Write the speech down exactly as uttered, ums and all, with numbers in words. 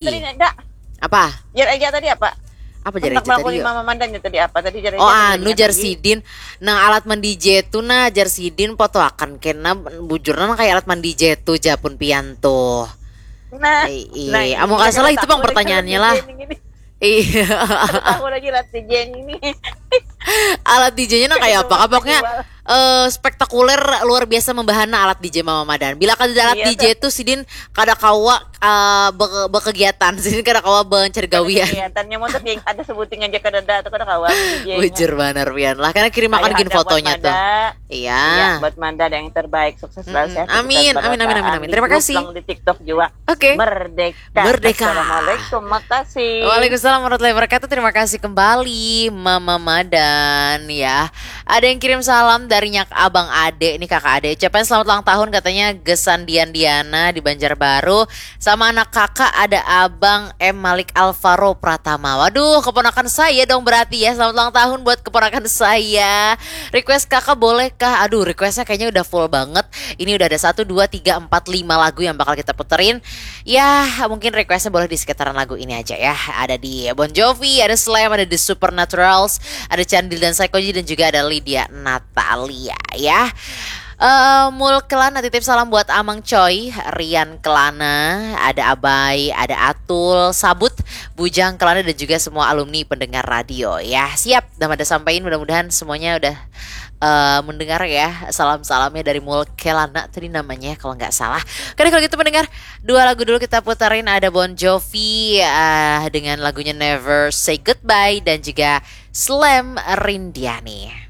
Tadi ada. Apa? Jar aja tadi apa? Apa jar aja tadi? Mama Mandan tadi apa? Tadi jar aja. Oh, anu jar sidin. Nah, alat mandi J tuh nah jar sidin foto akan kena bujur nah kayak alat mandi J tuh japun pian tuh. Nah, iya. Amun kada salah itu pang pertanyaannya lah. Iya. Tahu lagi alat D J ini. Alat D J-nya nah kayak apa? Kapoknya eh, spektakuler luar biasa membahana alat D J Mama Madan. Bila kada ada alat D J tuh sidin kada kawa eh, bekegiatan, sidin kada kawa mencari gawian. Kegiatannya mau tapi ada sebuting aja kada ada atau kada kawa D J-nya. Bujur banar pian lah karena kirim akan gin fotonya tuh. Iya. Buat Manda ada yang terbaik, sukses selalu sehat. Amin, amin, amin, amin, amin. Terima kasih. Di TikTok juga. Oke. Merdeka. Merdeka. Assalamualaikum, makasih. Waalaikumsalam warahmatullahi wabarakatuh. Terima kasih kembali Mama Madan ya. Ada yang kirim salam dari nyak abang ade nih kakak ade. Ucapan selamat ulang tahun katanya gesan Dian Diana di Banjarbaru sama anak kakak ada abang M Malik Alvaro Pratama. Waduh, keponakan saya dong berarti ya. Selamat ulang tahun buat keponakan saya. Request kakak boleh kah? Aduh, requestnya kayaknya udah full banget. Ini udah ada satu, dua, tiga, empat, lima lagu yang bakal kita puterin. Ya, mungkin requestnya boleh di sekitaran lagu ini aja ya. Ada di Bon Jovi, ada Slam, ada The Supernaturals, ada Candil dan Psychoji dan juga ada Lydia Natalia ya. Uh, Mul Kelana titip salam buat Amang Choi, Rian Kelana, ada Abai, ada Atul, Sabut, Bujang Kelana dan juga semua alumni pendengar radio ya. Siap, dah ada sampaikan mudah-mudahan semuanya udah uh, mendengar ya salam-salamnya dari Mul Kelana tadi namanya kalau nggak salah. Oke kalau gitu mendengar dua lagu dulu kita putarin ada Bon Jovi uh, dengan lagunya Never Say Goodbye dan juga Slam Rindiani.